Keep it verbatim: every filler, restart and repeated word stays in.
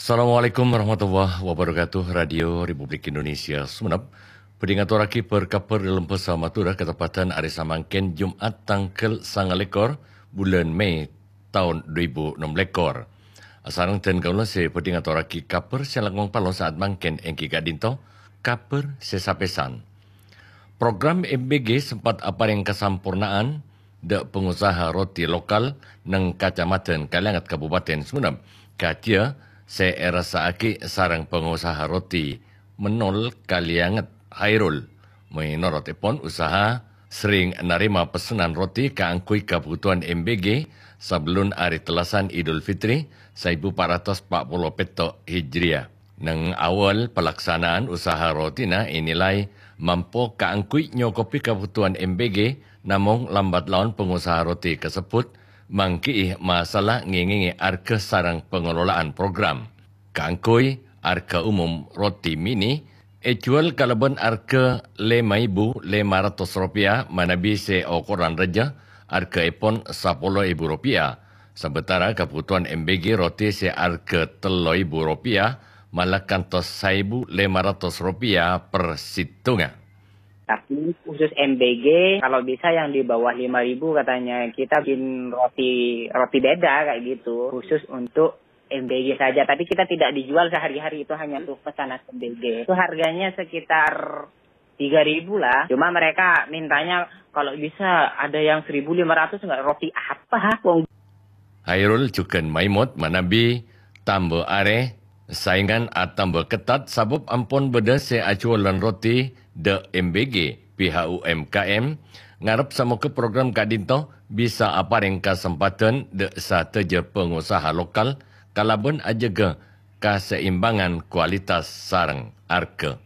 Assalamualaikum warahmatullahi wabarakatuh. Radio Republik Indonesia Sumenep bhâdhi ngatorraghi bâr-kabhâr dâlem bhâsa Madhurâ kateppadhân arè samangkèn, Jum'at tangghâl sanga lèkor bulân Mei taon dhu èbu ennem lèkor. Asareng dân kaulâ sè bhâdhi ngatorraghi kabhâr sè langkong palo sa'at mangkèn èngghi ka'dinto kabhâr sè sapèsan. Program M B G sempat aparèng kasamporna'an dâ' pangosaha roti lokal neng Kacamadhân Kalianget Kabupaten Sumenep, kadhiyâ sè èrassa'aghi sareng pangosaha roti Menol Kalianget, Hairul. Mènorot èpon, usaha serrèng narèma pessenan roti kaangghuy kabhutowan M B G sabellun arè tellasan Idul Fitri saèbu pa' ratos pa' polo pètto' Hijriyah. Neng awal palaksanaan usaha rotina ènilai mampo kaangghuy nyokobhi kabhutowan M B G, namong lambat laon pangosaha roti kasebbhut mangghi'i masalah ngèngèngè arghâ sareng pangalola'an program. Kaangghuy arghâ umum roti mini èjhuwâl kalabân arghâ lèma èbu lèma ratos ropèya manabi sè okoran rajâ arghâèpon sapolo èbu ropèya. Sabâtara kabhutowan M B G roti sè arghâ tello èbu ropèya mala kantos saèbu lèma ratos ropèya per sèttonga. Tapi khusus M B G, kalau bisa yang di bawah lima ribu katanya. Kita bikin roti roti beda kayak gitu, khusus untuk M B G saja. Tapi kita tidak dijual sehari-hari, itu hanya untuk pesanan M B G. Itu harganya sekitar tiga ribu lah. Cuma mereka mintanya kalau bisa ada yang seribu lima ratus nggak, roti apa? Wong Hairul jhughân maèmot manabi tamba arè saèngan atamba kettat sabâb ampon bâdâ sè ajhuwâlân roti dâ' M B G, P H U M K M, ngarep samogâ program ka'dinto bisa aparèng kasempadhân dâ' sadhâjâ pangosaha lokal kalabân ajâgâ kaseimbangan kualitas sareng arghâ.